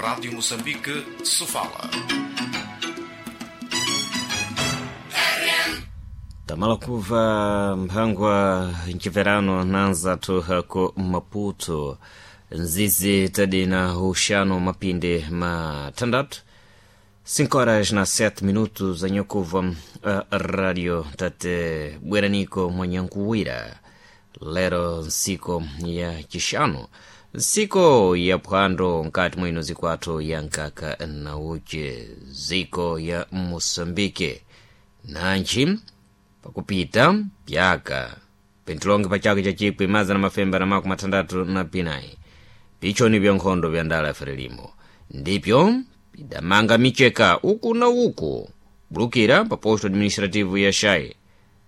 Rádio Moçambique, Sofala. Tamala kuva mphangwa mciverano nanzathu ku Maputo, nzizi tadina uxano mapinde matandatu, 5 horas na 7 minutos anyakuva radio tate bweraniko mwanyankuwira lero nsiku ya chixanu, nsiku ya phwando nkati mwino zikwathu ya nkaka na uche ziko ya Moçambique nanji pakupita pyaka pentilonge pachaka cha 1964 pichoni vya nkhondo vya ndala Frelimo ndipyo pidamanga micheka uku na uku bulukira pa posto administrativo ya Xai,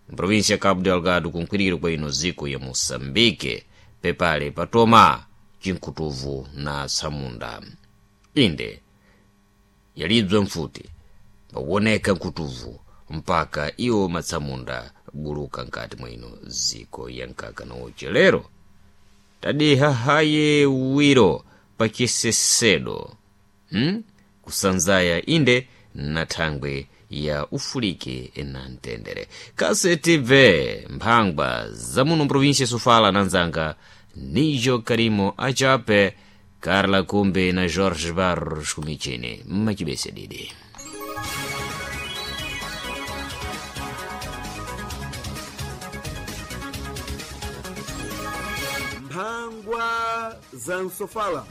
mprovinsia ya Cabo Delgado, kunkwiriro kwa ino ziko ya Moçambique, pepale patoma cinkutuvu na samunda. Inde yalidzwa mfuti pakuoneka nkutuvu mpaka iwo matsamunda buluka nkati mwino ziko ya nkaka na uche. Lero tadiha haye wiro pa chisesedo, Kusanzaya inde na thangwe ya ufuliki na mtendere. Kase tibve mphangwa za muno mprovinsia Sofala na nzanga Nijo Karimo Achape, Carla Kumbe na Jorge Barros kumichini mmachibese didi. Mphangwa za Nsofala.